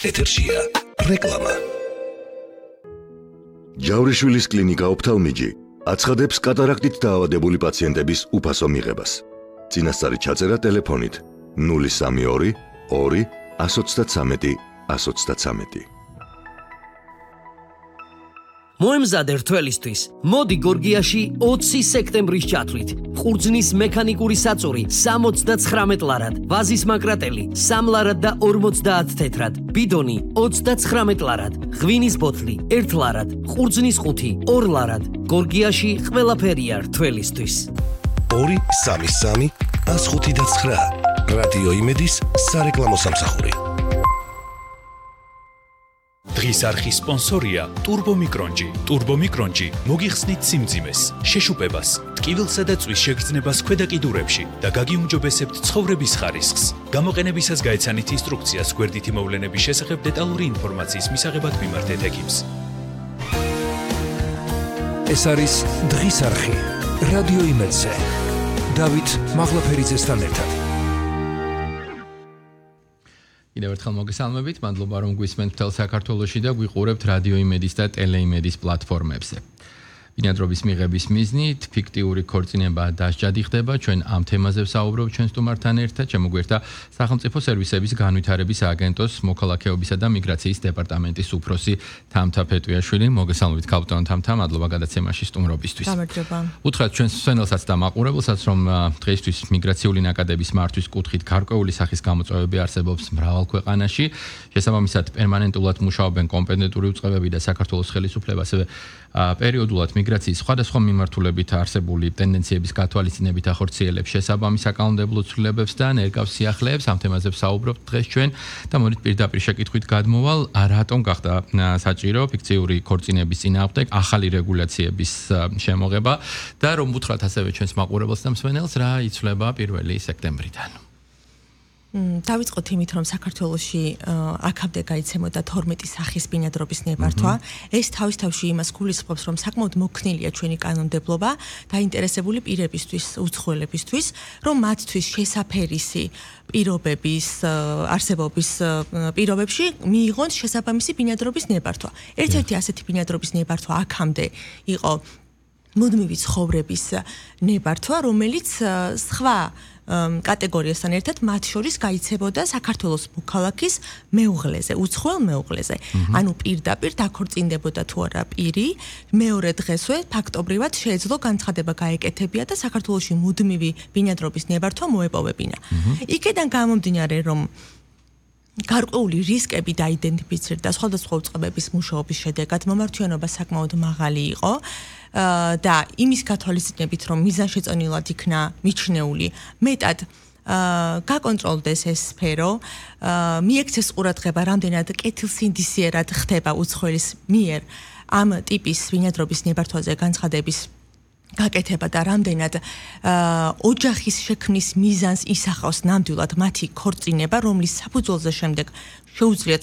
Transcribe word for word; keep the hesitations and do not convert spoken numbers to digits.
ეთერშია რეკლამა. ჯავრიშვილის კლინიკა ოფთალმიჯი აცხადებს კატარაქტით დაავადებული პაციენტების უფასო მიღებას. წინასწარი ჩაწერა ტელეფონით ნული სამი ორი ორი ათს ოცდათრამეტი ათს ოცდათრამეტი. მოემზადე რთველისთვის, მოდი გორგიაში ოცი სექტემბრის ჩათვლით. ყურძნის მექანიკური საწური სამოცდაცხრამეტ ლარად, ვაზის მაკრატელი სამ ლარად და ორმოცდაათ თეთრად, ბიდონი ოცდაცხრამეტ ლარად, ღვინის ბოთლი ერთ ლარად, ყურძნის ყუთი ორ ლარად. გორგიაში ყველაფერია რთველისთვის. ორი სამი სამი ათს ხუთი და ცხრა. რადიო იმედის სარეკლამო სამსახური. დღის არხის სპონსორია Turbo Micronji. Turbo Micronji მოგიხსნით სიმძიმეს, შეშუპებას, ტკივილსა და წვის შეგრძნებას ქვედა კიდურებში და გაგიუმჯობესებთ ცხოვრების ხარისხს. გამოყენებისას გაეცანით ინსტრუქციას გვერდითი მოვლენების შესახებ დეტალური ინფორმაციის მისაღებად მიმართეთ ექიმს. ეს არის დღის არხი. რადიო იმედზე. დავით მაღლაფერიძესთან ერთად. კიდევ ერთხელ მოგესალმებით, მადლობა რომ გვისმენთ მთელ საქართველოში და გვიყურებთ რადიო იმედის და ტელეიმედის პლატფორმებზე. ბინადრობის მიღების მიზნით ფიქტიური ქორწინება დასჯადი ხდება. ჩვენ ამ თემაზე ვსაუბრობთ ჩვენ სტუმართან ერთად. შემოგვერთა სახელმწიფო სერვისების განვითარების აგენტოს მოქალაქეობისა და მიგრაციის დეპარტამენტის უფროსი თამთა ფეტვიაშვილი. მოგესალმებით კაპიტან თამთა, მადლობა გადაცემაში სტუმრობისთვის. გამარჯობა. უთხრათ ჩვენს მსმენელსაც და მაყურებელსაც, რომ დღეისთვის მიგრაციული ნაკადების მართვის კუთხით გარკვეული სახის გამოწვევები არსებობს მრავალ ქვეყანაში. შესაბამისად, პერმანენტულად მუშაობენ კომპეტენტური უწყებები და საქართველოს ხელისუფლება, ასევე პერიოდულად მიგრაციის სხვადასხვა მიმართულებით არსებული ტენდენციების გათვალისწინებით ახორციელებს შესაბამის საკანონმდებლო ცვლილებებს და ნერგავს სიახლეებს. ამ თემაზე ვსაუბრობთ დღეს ჩვენ და მოდით პირდაპირ შეკითხვით გადმოვალ, რატომ გახდა საჭირო ფიქციური ქორწინების წინააღმდეგ ახალი რეგულაციების შემოღება და რომ უთხრათ ასევე ჩვენს მაყურებელს და მსმენელს, რა იცვლება პირველი სექტემბრიდან. დავიწყოთ იმით, რომ საქართველოში აქამდე გაიცემოდა თორმეტი სახის ბინადრობის ნებართვა. ეს თავის თავში იმას გულისხმობს, რომ საკმაოდ მოქნილია ჩვენი კანონმდებლობა დაინტერესებული პირებისთვის, უცხოელებისთვის, რომ მათთვის შესაფერისი პირობების არსებობის პირობებში მიიღონ შესაბამისი ბინადრობის ნებართვა. ერთ-ერთი ასეთი ბინადრობის ნებართვა აქამდე იყო მუდმივი ცხოვრების ნებართვა, რომელიც სხვა კატეგორიასთან ერთად მათ შორის გაიცებოდა საქართველოს მოქალაქის მეუღლეზე, უცხოელ მეუღლეზე. ანუ პირდაპირ დაქორწინდებოდა თუ არა პირი, მეორე დღესვე ფაქტობრივად შეეძლო განცხადება გაეკეთებია და საქართველოში მუდმივი ბინადრობის ნებართვა მოეპოვებინა. იქედან გამომდინარე, რომ გარკვეული რისკები დაიდენტიფიცირდა სხვადასხვა უწყებების მუშაობის შედეგად, მომართვიანობა საკმაოდ მაღალი იყო. და იმის გათვალისწინებით, რომ მიზანშეწონილად იქნა მიჩნეული, მეტად გაკონტროლდეს ეს სფერო, მიექცეს ყურადღება, რამდენად კეთილსინდისიერად ხდება უცხოელის მიერ ამ ტიპის ბინადრობის ნებართვაზე განცხადების გაკეთება და რამდენად ოჯახის შექმნის მიზანს ისახავს ნამდვილად მათი ქორწინება, რომლის საფუძველზე შემდეგ შეუძლიათ